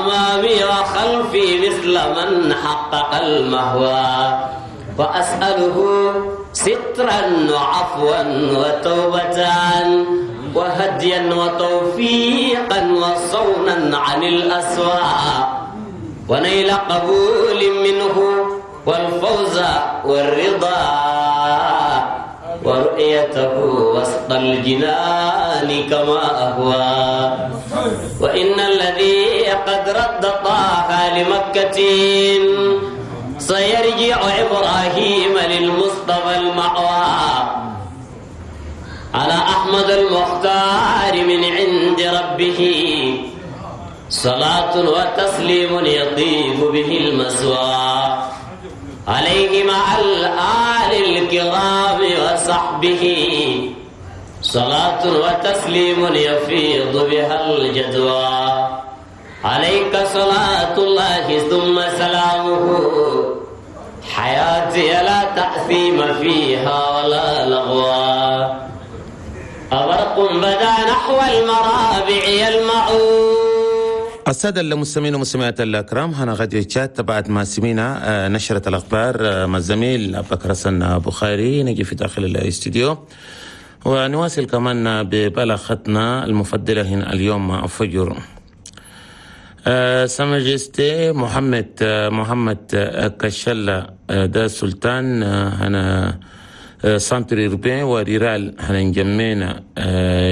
أمامي وخلفي مثل من حقق المهوى. وأسأله سترا وعفوا وتوبة وهديا وتوفيقا وصونا عن الأسواء ونيل قبول منه والفوز والرضا ورؤيته وسط الجنان كما أهوى. وإن الذي قد رد طه لمكة سيرجع إبراهيم للمصطفى المأوى. على أحمد المختار من عند ربه صلاة وتسليم يطيب به المسوى. عليه مع الآل الكرام وصحبه صلاة وتسليم يفيض بها الجدوى. عليك صلاة الله ثم سلامه حياتي لا تأثيم فيها ولا لغوا. أبرق بدا نحو المرابع يلمع. السادة المستمعين والمستمعات الأكرام، هنا غادي تشات بعد ما سمينا نشرة الأخبار مع الزميل أبو بكر حسن بخاري. نجي في داخل الاستديو ونواصل كمان ببلاغتنا المفضلة هنا اليوم الفجر. Sa Majesté محمد كشلا ده سلطان هنا centre urbain و rural هنا انجمينا،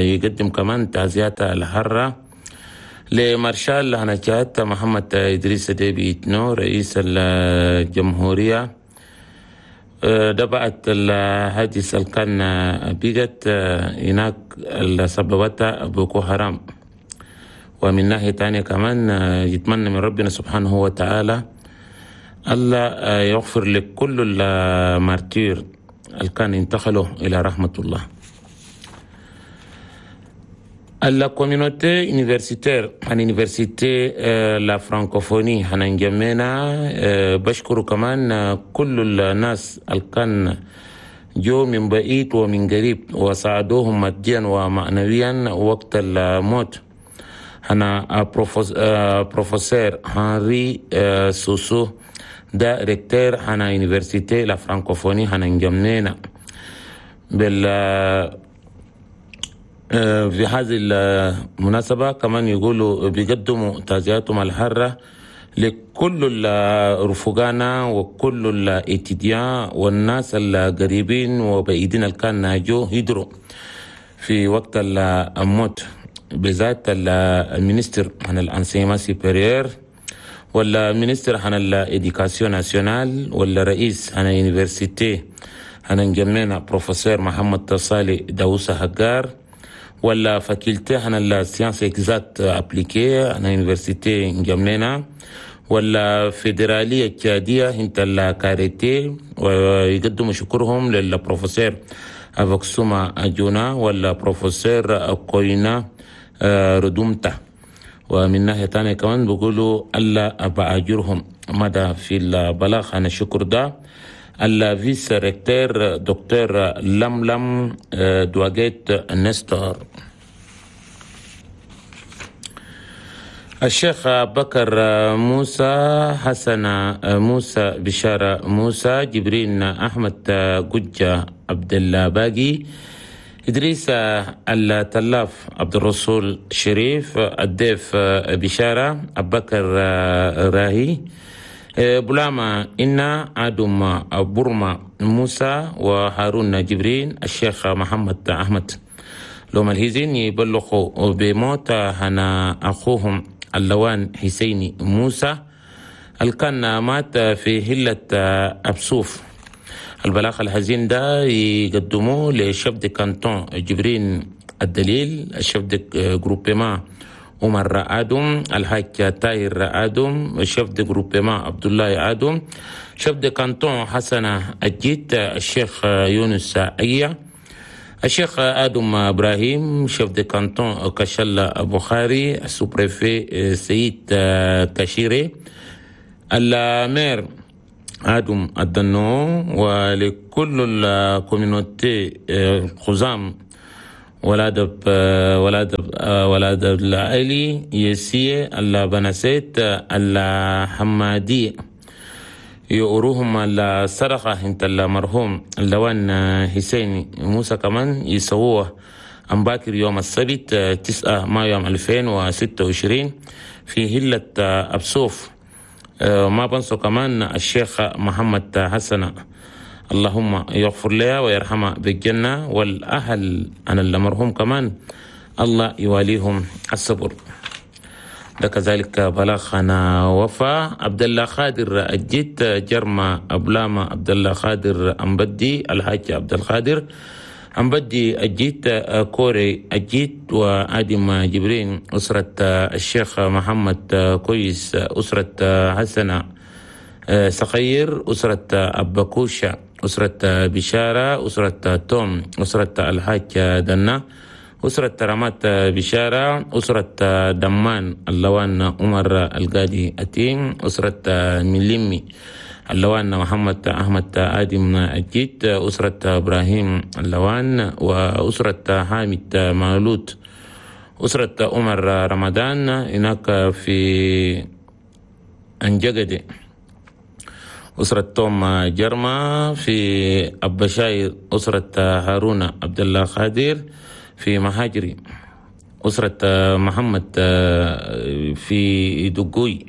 يقدم كمان تعزيات الحرة لمارشال هنا جات محمد إدريس ديبي إتنو رئيس الجمهورية. ده بعد الحادث اللي كان بيجت هناك اللي سببتها بوكو حرام. ومن ناحية تانية كمان يتمنى من ربنا سبحانه وتعالى الله يغفر لكل ال martyrs اللي كان انتقلوا إلى رحمة الله. La communauté universitaire عن université la francophonie هنجمعنا. بشكر كمان كل الناس اللي كان جو من بعيد ومن قريب وساعدوهم ماديا ومعنويا وقت الموت. هنا بروفيسور هنري سوسو ده recteur هنا université la francophonie هنجمعنا بال في هذه المناسبة. كمان يقولوا بيقدموا تعزياتهم الحارة لكل الرفقانا وكل ال étudiants والناس القريبين وبعيدين اللي كان ناجو هدروا في وقت الموت، بالذات ال ministre عن ال enseignement supérieur ولا ministre عن ال éducation nationale ولا رئيس عن université هنجمعنا بروفيسور محمد صالح داوسة هجار ولا faculté عن ال sciences exactes appliquées عن université انجمينا ولا فيدرالية التشادية انت الكاريتي، ويقدموا شكرهم للبروفيسور أفكسوما جونا ولا بروفيسور كوينا ردومتا. ومن ناحية تانية كمان بيقولوا ألا بأجرهم مدى في البلاغ عن الشكر ده ال vice-recteur دكتور لملم دواجيت نستور. الشيخ بكر موسى حسن موسى بشارة موسى جبرين أحمد قجة عبد الباقي إدريس التلاف عبد الرسول شريف الديف بشارة أبكر راهي بلاما إنا آدم برما موسى وهارون جبرين الشيخ محمد أحمد. لهم الهزين يبلغوا بموت هنا أخوهم اللوان حسيني موسى اللي كان مات في هلة أبسوف. البلاغ الحزين ده يقدموه ل chef de canton جبرين الدليل، ال chef de groupement عمر آدم، الحاج تاير آدم، chef de groupement عبد الله آدم، chef de canton حسن الجيت، الشيخ يونس أيا، الشيخ آدم إبراهيم، chef de canton كشل بخاري، ال sous-préfet سيد كشيري، ال maire آدم الدنو، ولكل ال communauté خزام ولاد العلي يسية الله بنسيت الله حمادي يقروهم الصدقة انت المرحوم اللوان حسين موسى كمان يسووه أم باكر يوم السبت 9 مايو 2026 في هلة أبسوف. ما بنسوا كمان الشيخ محمد حسن، اللهم يغفر لها ويرحمها بالجنة، والأهل أنا المرحوم كمان الله يواليهم الصبر. ده كذلك بلاغنا وفا عبد الله خادر الجيت جرما أبلاما عبد الله خادر أمبدي الحاج عبد القادر أمبدي الجيت كوري الجيت وآدم جبرين أسرة الشيخ محمد كويس أسرة حسنة صغير أسرة أبكوشة أسرة بشارة أسرة توم أسرة الحاج دنا أسرة رمات بشارة أسرة دمان اللوان عمر القادي أتيم أسرة ملمي اللوان محمد أحمد آدم الجيت أسرة إبراهيم اللوان وأسرة حامد مالوت أسرة عمر رمضان هناك في أنجقدي أسرة توم جرما في أبشاير أسرة هارون عبد الله خادر في مهاجري أسرة محمد في دقوي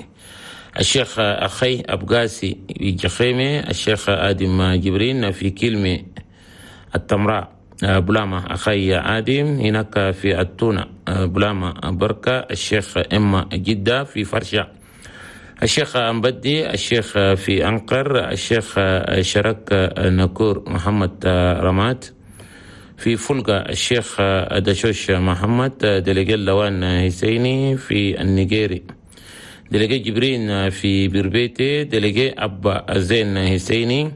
الشيخ أخي أبقاسي في جخيمة الشيخ آدم جبرين في كلمة التمراء بلاما أخي آدم هناك في التونة بلاما بركة الشيخ إما جدة في فرشة الشيخ أمبدي الشيخ في أنقر الشيخ شرك نكور محمد رمات في فلقة الشيخ دشوش محمد دلقي لوان حسيني في النيجيري دلقي جبرين في بربيتي دلقي أبا زين حسيني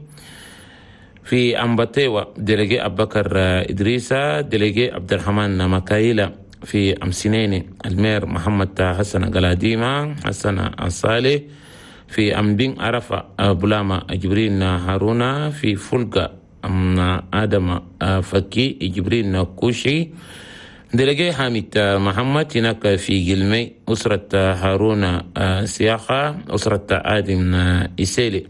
في أمبتيوة دلقي أبكر إدريسة دلقي عبد الرحمن مكايلة في أمسنيني المير محمد حسن قلاديمة حسن الصالح في أمبين عرفة بلاما جبرين هارونا في فلقة أم آدم فكي جبرين كوشي دلقي حامد محمد هناك في جلمي أسرة هارون سياخة أسرة آدم إسيلي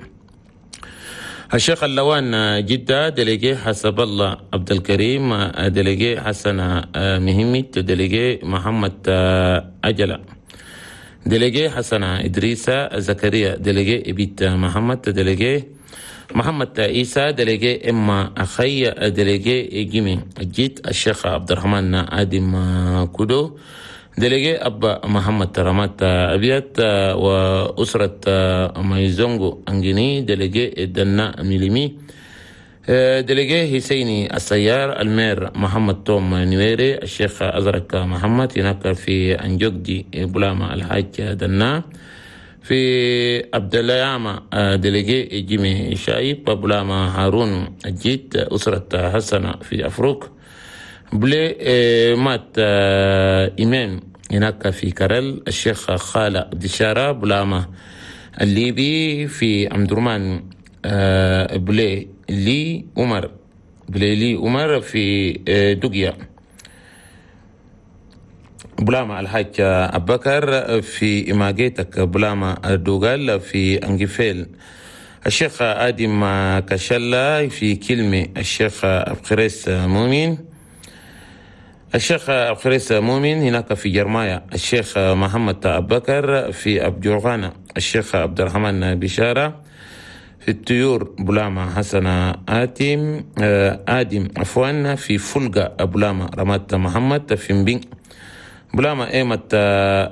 الشيخ اللوان جدة دلقي حسب الله عبد الكريم دلقي حسن مهمت دلقي محمد أجلة دلقي حسن إدريسة زكريا دلقي إبيت محمد دلقي محمد عيسى دلقي إما أخي دلقي جيمي جيت الشيخ عبد الرحمن آدم كودو دلقي أبا محمد رمات أبيات وأسرة ميزونغو أنجيني دلقي دنا ميليمي دلقي حسيني السيار المير محمد توم نويري الشيخ أزرق محمد هناك في أنجوكدي بلاما الحاج دنا في عبد الله ياما دلقي جيمي شايب بلاما هارون الجيت أسرة حسنة في أفروك بلي مات إمام هناك في كرل الشيخ خالة دشارة بلاما الليبي في أمدرمان بلي لي عمر بلي لي عمر في دقيا بلاما الحاج أبكر في إماجيتك بلاما دوغال في أنجفيل الشيخ آدم كشلا في كلمة الشيخ أبخريس مؤمن الشيخ أبخريس مؤمن هناك في جرمايا الشيخ محمد أبكر في أبجوغانا الشيخ عبد الرحمن بشارة في الطيور بلاما حسن آتم آدم عفوا في فلقة بلاما رمات محمد في مبين بلاما إيمة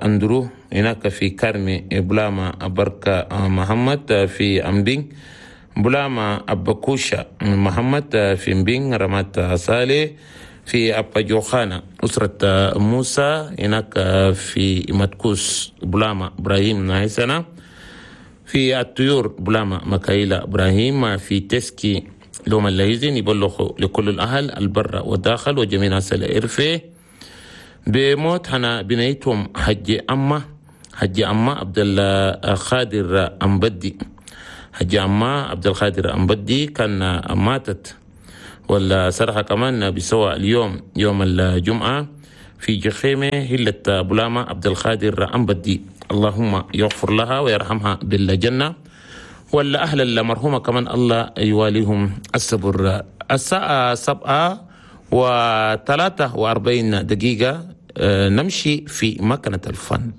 أندرو هناك في كرمي بلاما بركة محمد في أمبين بلاما أبكوشة محمد في مبين رمات صالح في أبجوخانة أسرة موسى هناك في مدكوس بلاما إبراهيم نايسنا في الطيور بلاما مكايلة إبراهيم في تسكي لوم اللهيزين يبلغ لكل الأهل البر والداخل وجميع ناس الإرفي بموت هنا بنيتهم حج أما عبد القادر أمبدي حج أما عبد القادر أمبدي كان ماتت والسرحة كمان بيسوى اليوم يوم الجمعة في جخيمة هلة بلامة عبد القادر أمبدي، اللهم يغفر لها ويرحمها بالجنة، ولا أهل المرحومة كمان الله يواليهم الصبر. الساعة 7:43، نمشي في مكنة الفن.